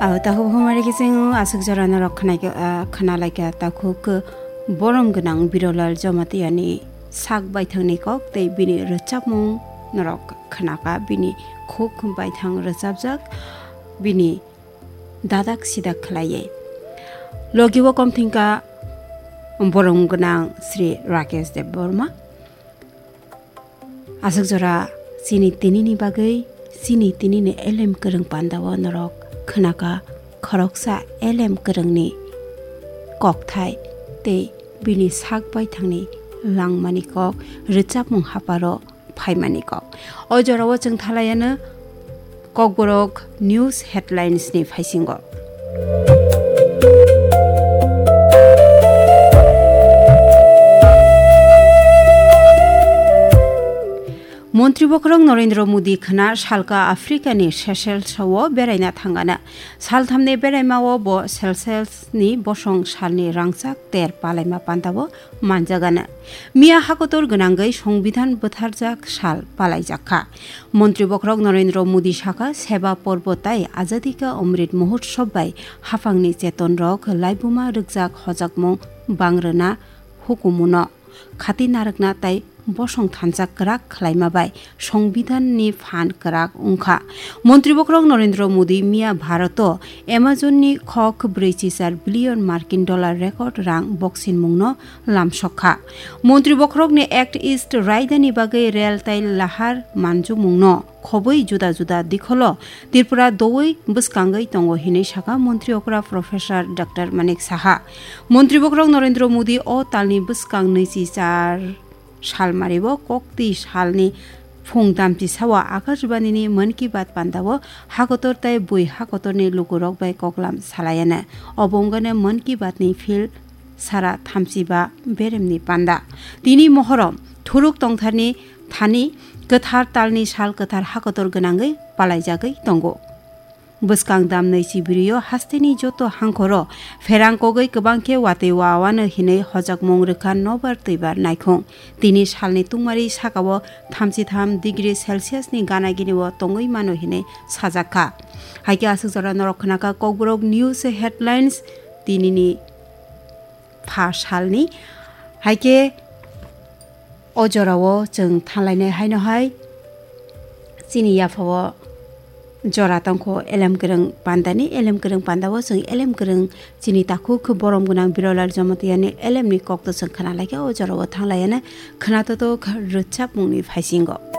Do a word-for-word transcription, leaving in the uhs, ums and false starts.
Aw takhuk humari kisingo aswk jora norok khwnaikha, ah, khwnalaikha takhuk borom gwnang Birolal Jamatia ni sak baithangni kok tei bini rwchapmung norok khwnakha, bini khuk baithang rwchapjak, bini dadak sidak khlaiwi. Logi o kom thwngkha borom gwnang Sri Rakesh Debbarma. Aswk jora chini tinini bagwi, chini tinini elem kwrwng pandao norok khwnakha khoroksa elem kwrwngni kokthai tei bini sak baithangni langmani kok, rwchapmung haparo phaimani kok. O jorao chwng thalaiano Kokborok News Headlines ni phaisingo. Montri bokhorok Narendra Modi khwna salka Africa ni Seychelles o beraina thangana. Salthamni beraima o bo Seychelles ni bosong salni rangchak ter palaima pantabo manjagana. Miya hakotor gwnangwi Songbidan bwtharjak sal palaijakha. Montri bokhorok Narendra Modi sakha, Seba Porbo tai Azadi Ka Amrit Mahotsav bai haphangni chetonrok laibuma rwkjak hojakmung bangrwna hukumuno khati narwkna tai bosong thansa kwrak khlaima bai Songbidanni phan kwrak wngkha. Montri bokhorok Narendra Modi miya Bharoto Amazonni khok brwi chichar billion Markin dollar record rang boksinmungno lamsokha. Montri bokhorokni Act East raidani bagwi rel tai lahar manjumungno khobwi juda juda dikholo Tripura doui bwskangwi tongo hinwi sakha Montri okra Professor Doctor Manik Saha. Montri bokhorok Narendra Modi o talni bwskang nwichi char salmario koktwi salni phung damchisao Akashbanini Mann Ki Baat pandao hakotor tai bui hakotorni lukurok bai koklam salayana. Obo wngkha Mann Ki Baatni phil sara thamchiba beremni panda. Tini mohorom thuruk tongtharni thani kwthar talni sal kwthar hakotor gwnangwi palaijagwi tongo. Bwskang damnwi chibirio hasteni joto hangkhoro pherang kogwi kwbang khe watwi wawano hinwi hojakmung rwkha nobar twibar naikhung. Tini salni tungmari sakao thamchi tham degree Celsius ni gana gini o tongwi mano hinwi sajakha. Haikhe aswk jora norok khwnakha Kokborok News Headlines tinini pha salni. Haikhe o jorao chwng thanlainai haino hai chini yaphao jora tongkho elem kwrwng pandani, elem kwrwng pandao chwng elem kwrwng chini takhuk borom gwnang Birolal Jamatiani elemni kokto chwng khwnalaikha, o jorao thanglaiana khwnatotok rwchapmungni phaisingo.